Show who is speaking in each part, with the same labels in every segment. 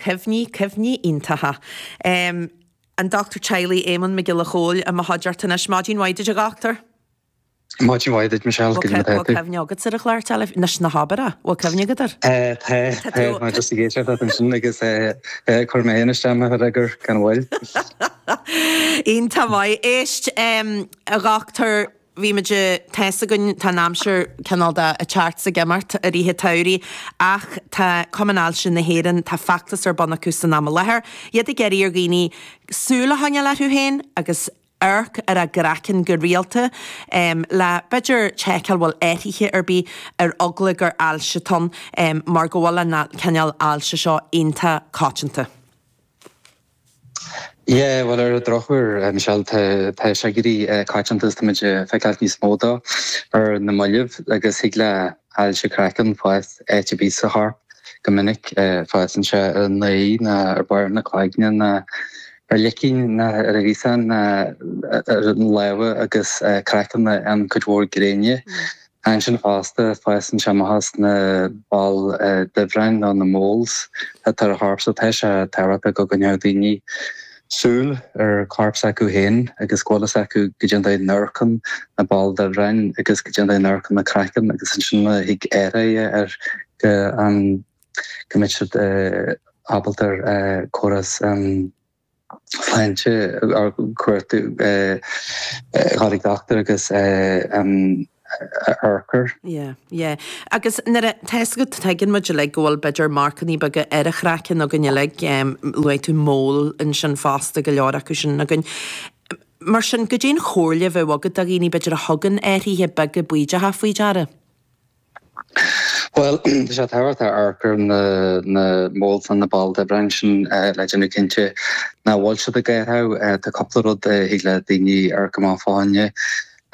Speaker 1: Cuimhní, cuimhní iontacha. An Dochtúir Teaghlaigh Éamonn Mac Giolla Chóill i mo chuideachta anois. Maidin mhaith duit a dhochtúir.
Speaker 2: Maidin mhaith duit Michelle, goidé mar
Speaker 1: atá tú? Bhfuil cuimhne agatsa ar an chlár teilifíse? Anois ná habair é, bhfuil cuimhne agat air?
Speaker 2: Tá, tá, mé just ag éisteacht leat ansin agus chuir mé féin isteach mo fhreagar gan mhoill.
Speaker 1: Iontach maith. Éist, a dhochtúir, bhí muid, tá's againn, tá an aimsir cineál de ag teacht 's ag imeacht i rith an tsamhraidh ach tá Cumann Ailse na hÉireann, tá feachtas ar bun acu san am i láthair, iad ag iarraidh ar dhaoine súil a choinneáil orthu féin agus amharc ar a gcraiceann go rialta le b'fhéidir seiceáil bhfuil athruithe ar bith ar eagla gur ailse atá ann mar go bhfuil an cineál ailse seo iontach coitianta.
Speaker 2: Yeah, bhuel ar an drochuair, Michelle, tá sé ag éirí coitianta agus táimid ag feiceáil níos mó dó ar na mallaibh agus thig le hailse craicinn fás áit ar bith sa chorp go minic. Fásann sé ar an aghaidh ná ar barr na cloigne ná ar licín ná ar an ghaosán ná ar na lámha agus craiceann an cuid mhór gréine. Ansin fosta, fásann sé amach as na baill duibhreáin nó na moles atá ar an chorp so tá sé tábhachtach go gcoinneodh daoine súil ar chorp s'acu féin agus go bhfuil fhios acu goidé an dóigh a n-amharcann na baill duibhreáin agus goidé an dóigh a n-amharcann na craiceann agus ansin má thig athruithe air go go mbeidh siad ábalta ar córas an sláinte a chuartú, dhul ag dochtúir agus amharc air.
Speaker 1: Yeah, yeah. Agus nuair a, tá fhios agat, tuigeann muid uilig go bhfuil b'fhéidir marcannaí beaga ar an chraiceann againn uilig, luaigh tú mole ansin fosta, go leor acu sin againn. Mar sin, goidé an chomhairle a bheadh agat do dhaoine b'fhéidir a thugann athruithe beaga baoideacha faoi deara?
Speaker 2: Bhuel, tá sé tábhachtach amharc ar na moles nó na baill duibhreáin sin le déanamh cinnte nach bhfuil siad ag athrú. Tá cúpla rud a thig le daoine amharc amach fá choinne.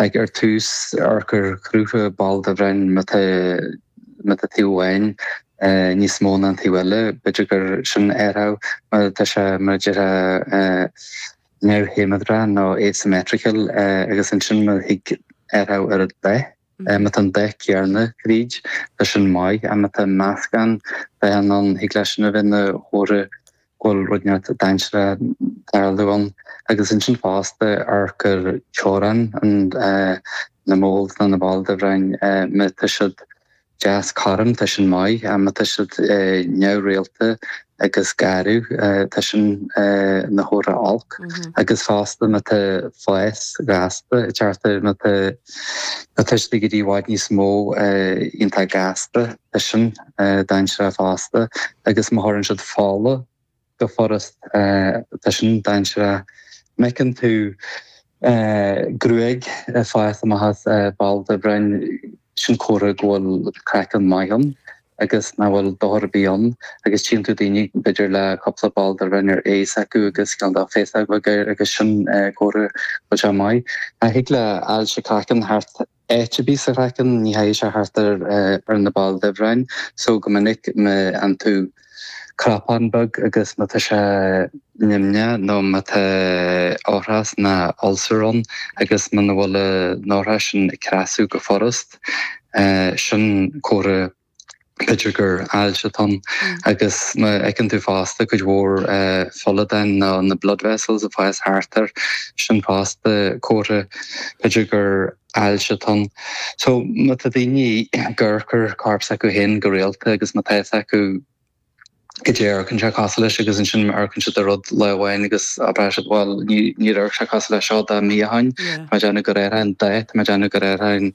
Speaker 2: Like ar tús, amharc ar chruth ball duibhreáin má tá má tá taobh amháin níos mó ná an taobh eile, b'fhéidir gur sin athrú. Má tá sé mar a déarfá neamhshiméadrach nó asymmetrical agus ansin má thig athrú ar an dath. Má tá an dath céanna tríd, tá sin maith, ach má tá meascán dathanna ann, thig leis sin a bheith ina chomhartha go bhfuil rud inteacht dainséarach ag tarlú ann. Agus ansin fosta, amharc ar teorainn na moles nó na ball duibhreáin, má tá siad deas cothrom, tá sin maith, ach má tá siad neamhrialta agus garbh, tá sin ina chomhartha olc. Agus fosta má tá fás gasta ag teacht air, má tá má tá siad ag éirí i bhfad níos mó iontach gasta, tá sin dainséarach fosta. Agus má chuireann siad fola go furast. Tá sin dainséarach. Má fheiceann tú gruaig ag fás amach as ball duibhreáin, sin comhartha go bhfuil craiceann maith ann agus nach bhfuil dochar ar bith ann. Agus tchíonn tú daoine b'fhéidir le cúpla ball duibhreáin ar aghaidh s'acu agus cineál de féasóg bheag air agus sin comhartha go bhfuil sé maith. Thig le ailse craicinn theacht áit ar bith sa chraiceann, ní chaithfidh sé theacht ar na baill duibhreáin so go minic má fhaigheann tú cnapán beag agus má tá sé nimhneach nó má tá oshrás ná ulcer ann agus muna bhfuil an oshrás sin ag creasadh go furast, sin comhartha b'fhéidir gur ailse atá ann. Agus má fheiceann tú fosta cuid mhór foladáin nó na blood vessels ag fás thart air, sin fosta comhartha b'fhéidir gur ailse atá ann. So má tá daoine ag amharc ar corp s'acu féin go rialta agus má tá fhios acu goidé a amharcann sé cosúil leis agus ansin amharcann siad ar rud lá amháin agus abraíonn siad bhuel níor amharc sé cosúil leis seo dá mí ó shin, tá mé ag déanamh gur athraigh an dath, tá mé ag déanamh gur athraigh an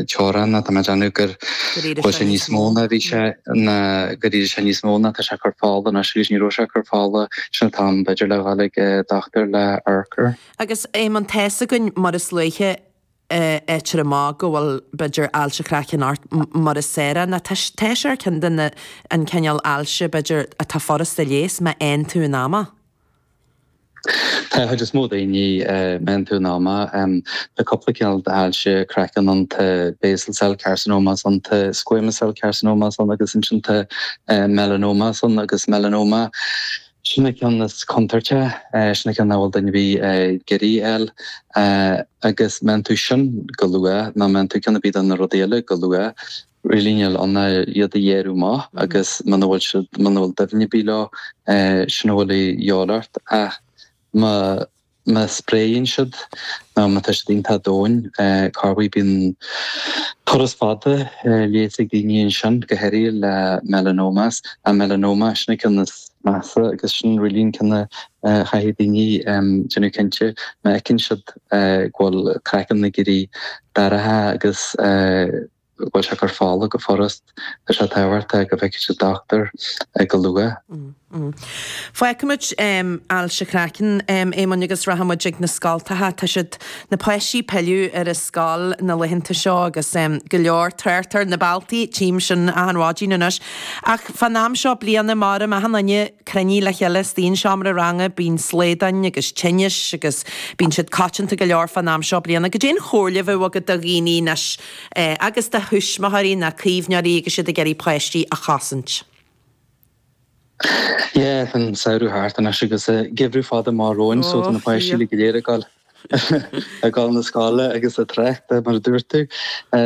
Speaker 2: teorainn nó tá mé ag déanamh gur bhfuil sé níos mó ná bhí sé ná gur éirigh sé níos mó ná tá sé ag cur fola anois agus ní raibh sé ag cur fola, sin an t-am b'fhéidir le dhul ag dochtúir le amharc air.
Speaker 1: Agus Éamonn, tá's againn mar is luaithe a fhaightear amach go bhfuil, b'fhéidir, ailse chraicinn ort mar is saoire, nó tá sé ar ceann de na, an cineál ailse, b'fhéidir, atá furast a leigheas má fhaigheann tú in am é.
Speaker 2: Tá an chuid is mó daoine, má fhaigheann tú in am é. Tá cúpla cineál d'ailse craicinn ann, tá basal cell carcinomas ann, tá squamous cell carcinomas ann agus ansin tá melanomas ann agus melanoma, Sin an ceann is contúirte, sin an ceann nach bhfuil duine ar bith ag iarraidh a fháil. Agus má fhaigheann tú sin go luath, nó má fhaigheann tú ceann ar bith de na rudaí eile go luath, Really níl ann ach iad a ghearradh amach agus muna bhfuil siad, muna bhfuil doimhne ar bith leo, sin a bhfuil a dhíobháil ort. Ach má, má spréann siad nó má tá siad iontach domhain, corruair bíonn turas fada leigheas ag daoine ansin, go háirithe le melanomas. An melanoma, sin an ceann is measa agus sin really an ceann a chaithfidh daoine déanamh cinnte má fheiceann siad go bhfuil craiceann ag éirí dorcha agus go bhfuil sé ag cur fola go furast, tá sé tábhachtach go bhfeicfidh siad dochtúir go luath.
Speaker 1: Fágfaimid ailse chraicinn, Éamoinn, agus rachaimid ag na scoltacha. Tá siad, na páistí pilleadh ar an scoil na laethanta seo agus go leor trácht ar na bealtaí, tchím sin achan mhaidin anois. Ach fán am seo bliana, maram achan duine cruinnithe le chéile istigh i seomra ranga, bíonn slaodáin agus tinnis agus bíonn siad coitianta go leor fán am seo bliana. Goidé an chomhairle a bheadh agat do dhaoine anois agus do thuismitheoirí ná caomhnóirí agus iad ag iarraidh páistí a chosaint.
Speaker 2: Yeah, tá an samhradh thart anois agus geimhreadh fada amach romhainn so tá na páistí uilig go léir ag dul ag dul na scoile agus ag trácht mar a dúirt tú.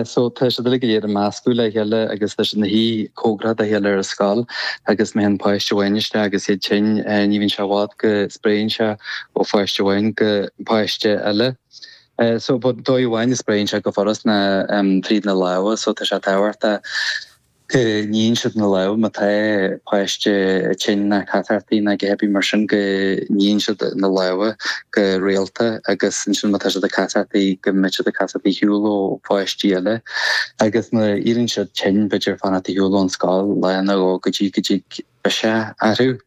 Speaker 2: So tá siad uilig go léir ag meascadh le chéile agus tá siad ina shuí cóngarach dá chéile ar an scoil agus má théann páiste amháin isteach agus iad tinn ní bhíonn sé i bhfad go spréann sé ó pháiste amháin go páiste eile. So but dóigh amháin a spréann sé go furast ná tríd na lámha so tá sé tábhachtach go níonn siad na lámha má tá páiste tinn ná casartaí ná a dhath ar bith mar sin go níonn siad na lámha go rialta agus ansin má tá siad ag casartaí go mbeidh siad ag casartaí ar shiúl ó pháistí eile agus má éiríonn siad tinn b'fhéidir fanacht ar shiúl ón scoil lá nó dhó go dtí go dtig biseach orthu.